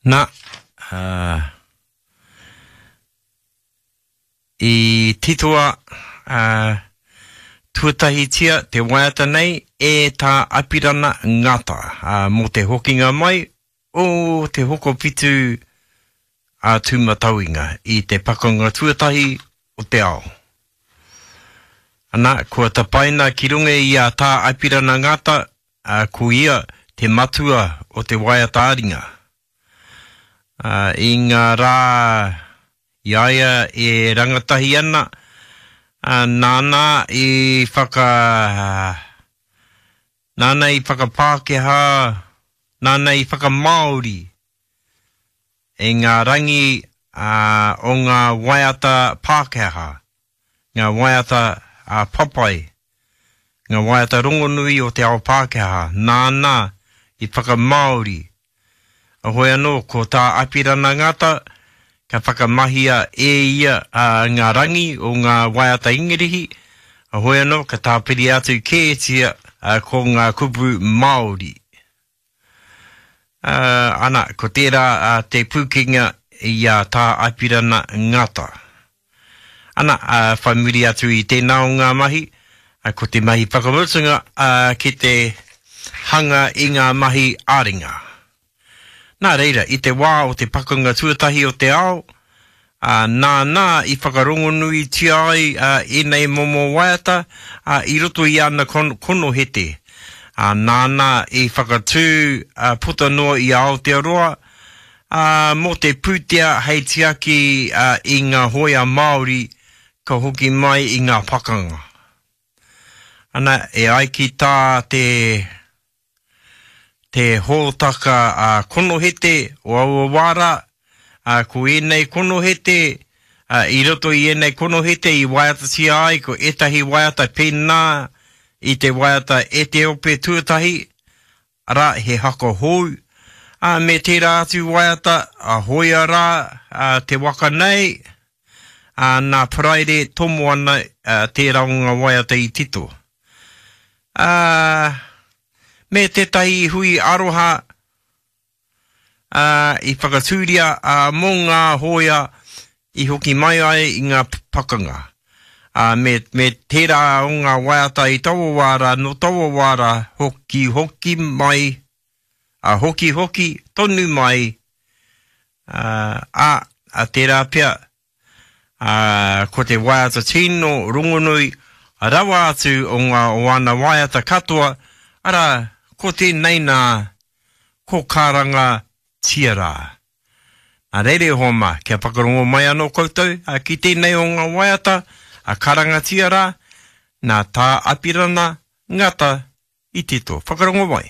Na, ā, i titoa, ā, tuatahitia te waiata nei e Tā Apirana Ngata, ā, mō te hokinga mai o Te Hokowhitu a Tūmatauenga i te Pakanga Tuatahi o te Ao. Ana, kua tapaina ki runga i a Tā Apirana Ngata, ā, ko ia te matua o te waiata-ā-ringa. Ā, i ngā rā i a ia e rangatahi ana, ā, nāna i whaka, nāna i whakapākehā, nāna i whakamāori i ngā rangi o ngā waiata Pākehā, ngā waiata papai, ngā waiata rongonui o te ao Pākehā, nāna i whakamāori. Heoi anō, ko tā Apirana Ngata, ka whakamahia e ia ngā rangi o ngā waiata Ingirihi, heoi anō, ka tāpiri atu kētia ko ngā kupu Māori. Ā, ana, ko tērā te pūkenga i a Tā Apirana Ngata. Ana, ā, whai muri atu i tēnā o ngā mahi, ko te mahi whakamutunga, ā, ki te hanga i ngā mahi ā-ringa. Nā reira, i te wā o te Pakanga Tuatahi o te Ao, ā, nāna i whakarongonuitia ai ēnei momo waiata, ā, i roto i ana konohete, ā, nāna i whakatū puta noa i a Aotearoa, ā, mō te pūtea hei tiaki i ngā hōia Māori ka hoki mai i ngā pakanga. Ana, e ai ki tā te. te hōtaka konohete o aua wā rā, ā, ko ēnei konohete, ā, i roto i ēnei konohete i waiatatia ai ko ētahi waiata pēnā i te waiata E Te Ope Tuatahi, arā, he haka hou, ā, me tērā atu waiata, a Hoia rā, ā, te waka nei, ā, nā Paraire Tomoana, ā, tērā o ngā waiata i tito. Ā, me tētahi hui aroha, ā, i whakatūria, ā, mō ngā hōia i hoki mai ai i ngā pakanga. Ā, me, me tērā o ngā waiata i taua wā rā, nō taua wā rā, hokihoki mai, ā, hokihoki tonu mai, ā, ā, ā, tērā pea, Ā, ko te waiata tino rongonui rawa atu o ngā o ana waiata katoa, arā, ko tēnei nā, ko Karanga Tia Rā. Nā reira e hoa mā, kia whakarongo mai anō koutou ki tēnei o ngā waiata a Karangatia Rā, nā Tā Apirana Ngata i tito. Whakarongo mai.